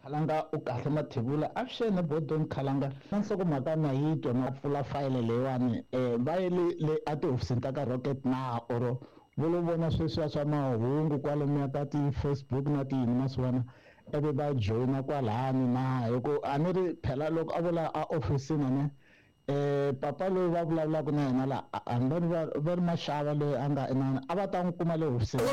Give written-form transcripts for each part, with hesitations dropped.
Khalanga u kahle Mathebula, avuxeni Bodon Khalanga. Na nhlokomhaka na yi twa na pfula fayele leyiwani, va ye le a tihofisini ta ka Rocket na or vo lo vona sweswiya swa mahungu kwalomuya ka ti-Facebook na tiyini ma swi vona, ivi va joyina kwalani na? Hi ku a ni ri phela loko a vula a ofisini ne, papa loyi va vulavulaka na yena la, hambi va ri Maxava loyi a nga inana, a va ta n'wi kuma le hofisini.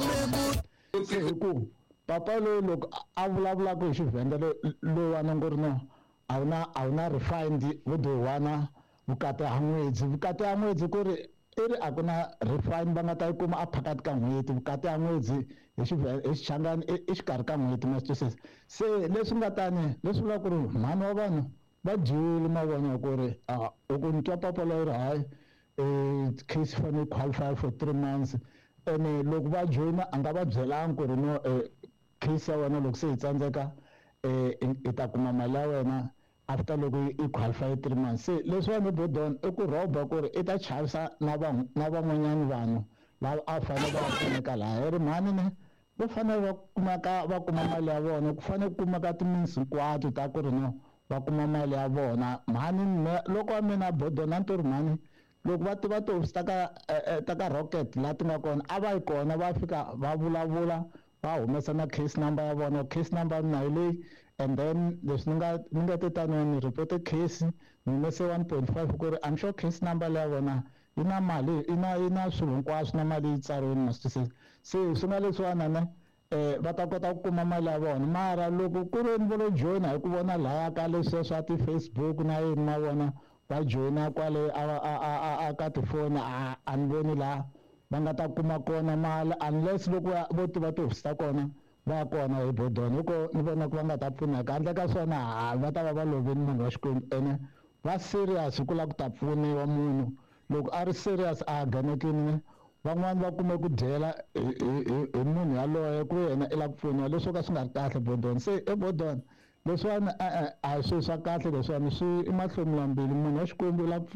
Se hi ku papa loyi loko a vulavulaka hi Xivhenda loyiwani ngo ri no, a wu na refund, vo do wana vukati ha n'wedzi, vukati ha n'wedzi, ku ri i ri a ku na refund va nga ta yi kuma a phakati ka n'hweti. Vukati ha n'wedzi hi Xichangani i xikarhi ka n'hweti, ma swi twisisa? Se leswi nga tani, leswi vulaka ku ri mhani wa vanhu va dyiwile, ma vona ku ri loko ni twa papa loyi ri hayi, case fanele qualify for 3 months, ene loko va joyina a nga va byelanga ku ri no, case ya wena loko se yi tsandzeka, i ta kuma mali ya wena after loko i qualify 3 months. Se leswiwani, Bodon, i ku rhoba ku ri i ta chavisa na van'wanyana vanhu lava a fanele va pfuneka laha. Hi ri mhani ne, va fanele va kumeka va kuma mali ya vona, ku fanele ku kumeka ti-means hinkwato ta ku ri no, va kuma mali ya vona. Mhani me loko wa mina Bodon, a ni to ri mhani loko va tiva tihofisi ta ka Rocket laha ti nga kona, a va yi kona, va fika va vulavula, va humesa na case number ya vona, case number ya mina hi leyi, and then leswi ni nga te taniwa ni report case, ni humese 1.5, ku ri I'm sure case number leya vona yi na mali, yi na swilo hinkwaswo na mali yi tsariwini, ma swi twisisa? Se swi nga leswiwana ne, va ta kota ku kuma mali ya vona. Mara loko ku ri ni vo lo joyina hi ku vona laya ka leswiya swa ti-Facebook na yini, ma vona, va joyina kwale a ka tifoni, a ni voni laha va nga ta kuma kona mali, unless loko vo tiva tihofisi ta kona, va ya kona hi Bodon, hi ko ni vona ku va nga ta pfuneka. Handle ka swona, ha va ta va va lovini munhu wa Xikwembu. Ene va serious hi ku lava ku ta pfuniwa. Munhu loko a ri serious a ganekini ne, van'wani va kume ku dyela hi munhu yaloye ku yena i lava ku pfuniwa, leswo ka swi nga ri kahle, Bodon. Se e Bodon, leswiwani e-e, a hi swilo swa kahle leswiwani, swi i mahlomulambili. Munhu wa Xikwembu i lava ku